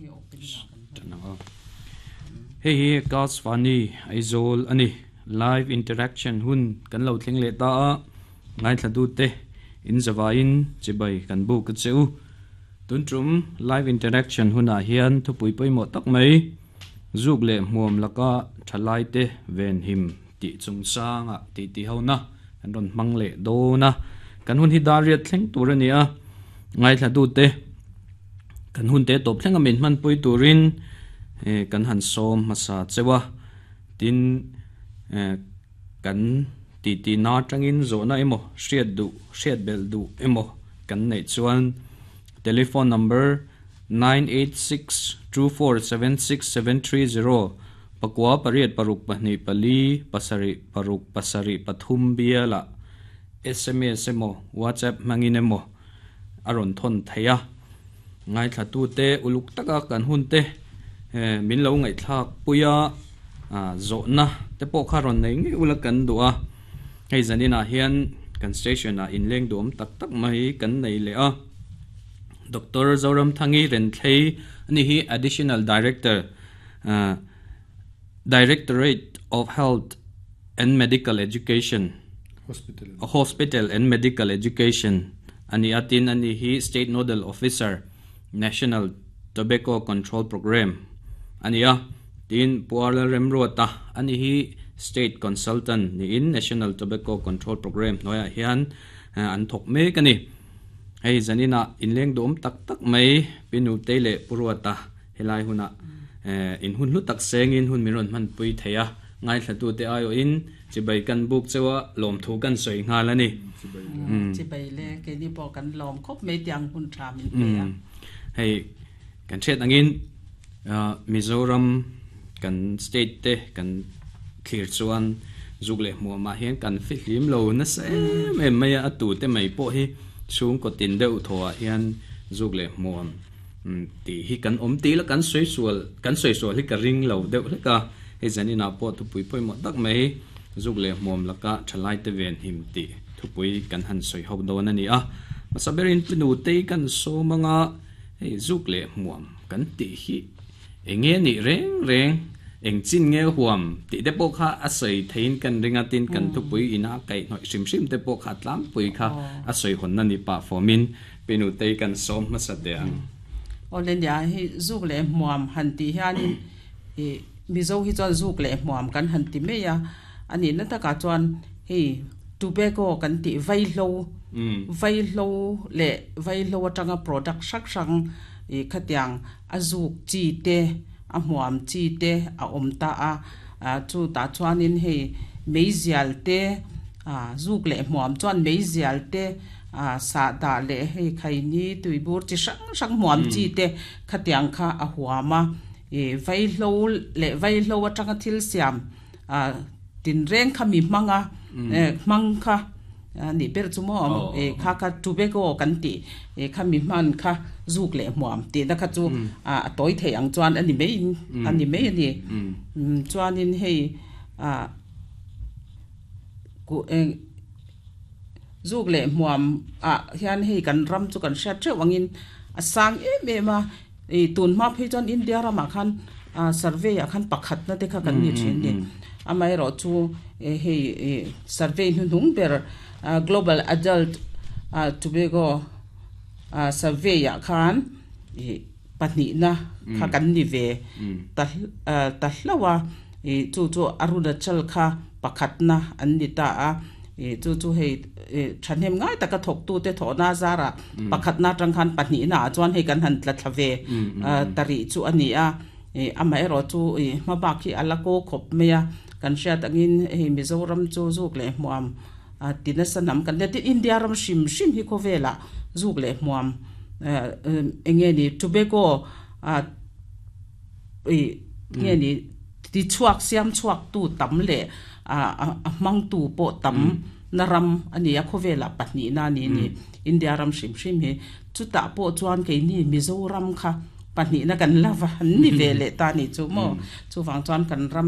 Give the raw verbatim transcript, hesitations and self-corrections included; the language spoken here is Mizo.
Hi opening ah kan hman. Tanang aw. Hei hi Akashvani Aizawl ani. Live interaction hun kan lo thleng leh ta a. Ngaithla tu te in zawain chibai kan bu ka cheu. Tun tum live interaction hunah hian thupui pawimawh tak mai zuk leh hmuam laka thalai te ven him tih chungchanga tih ti ho na kan rawn hmang leh dawn a. Kan hun hi dar riat thleng tur a ni a. Ngaithla tu te kan hun te tawp thleng a min hman pui turin eh kan han sawm hmasa chewa tin eh kan ti ti na tangin zawhna emaw hriat duh hriat bel duh emaw kan nei chuan telephone number nine eight six two four seven six seven three zero pakua pariat paruk pahnih pali pasarih paruk pasarih pathum biala S M S emaw WhatsApp hmangin emaw a rawn thawn thei a. Ngaithla tu te uluk taka kan hun te eh min lo ngaihthlak puia a zawhna te pawh kha rawn nei ngei ula kan duh a. Hei zaninah hian kan station ah inleng duam tak tak mai kan nei leh a. Doctor Zoram Thangi Renthlei ani hi Additional Director uh, Directorate of Health and Medical Education. Hospital. Hospital and Medical Education ani atin ani hi State Nodal Officer, National Tobacco Control Program ani a. Tin Puala Remruata ani hi State Consultant ni in National Tobacco Control Program noya hian an thok mek ani. Hei zanina inleng dom tak tak mai pinu te le puruata helai huna in hun hlu tak sengin hun miron man pui theia. Ngai thlatu te ayo in chibai kan buk chewa lom thu kan soi ngal ani. Chibai le ke ni po kan lom khop me tiang hun tha min pe a. Hei kan chet angin Mizoram kan state te kan clear chuan zuk le hmuam ma hian kan fi hlim lo na se em mai a tu te mai po hi chung ko tin deuh thawa hian zuk le hmuam ti hi kan om ti la kan soi sual kan soi sual hi ka ring lo deuh hleka. Hei zanina pawh thupui pawimawh tak mai zuk leh hmuam laka thalai te ven him ti thupui kan han soi ho dawn ani a. Masaberin pinu te kan somanga hei zuk leh hmuam kan ti hi enge ni reng reng eng chin nge huam ti te pawh kha a soi thein kan ringa tin kan thupui ina kai hnoi hrim hrim te pawh kha tlam pui kha a soi hon na ni pa formin pinu te kan som hmasa te ang. Olen ya hi zuk leh hmuam han ti hianin e Mizo hi chuan zuk leh hmuam kan han ti mai a. Ani na taka chuan hei tobacco kan ti vaihlo vaihlo leh vaihlo atanga product hrang hrang e khatiang a zuk chi te a hmuam chi te a awm ta a. Chu ta chuanin hei meizial te a zuk leh hmuam chuan meizial te a sa da leh hei khaini tuibur chi hrang hrang hmuam chi te khatiang kha a huama e vaihlo leh vaihlo atanga thil siam a tin reng kha mi hmanga hmang kha ni ber chu mo e kha kha tobacco kan ti e kha mi hman kha zuk leh hmuam ti na kha chu a toi thei ang chuan ani mai ani mai ani chuanin hei a ku eng zuk leh hmuam a hian hei kan ram chu kan hriat theuh angin a sang em em a. E tun hma phei chuan India ramah khan survey ah khan pakhat na te kha kan ni thin ni. Amaherawh chu hei survey hnuhnung ber Global Adult Tobacco Survey ah khan pahnih na kha kan ni ve ta ta hlawa e chu chu Arunachal kha pakhat na an ni ta a. E chu chu hei thahnem ngai taka thawk tu te thawh na zara pakhat na tang khan pahnih na chuan hei kan han tla thla ve tari chu ani a. E amaherawh chu e hmabak hi ala ko khawp mai a. Kan hriat angin hei Mizoram chu zuk leh hmuam tina sanam kan le tin India ram hrim hrim hi khawvela zuk leh hmuam enge ni tobacco a e nge ni ti chuak siam chuak tu tam le a a hmang tu pawh tam na ram ani a khawvela pahnih na ni ni India ram hrim hrim hi chuta pawh chuan keini Mizoram kha pahnih na kan lava an ni ve leh ta ni chu mo chuwang chuan kan ram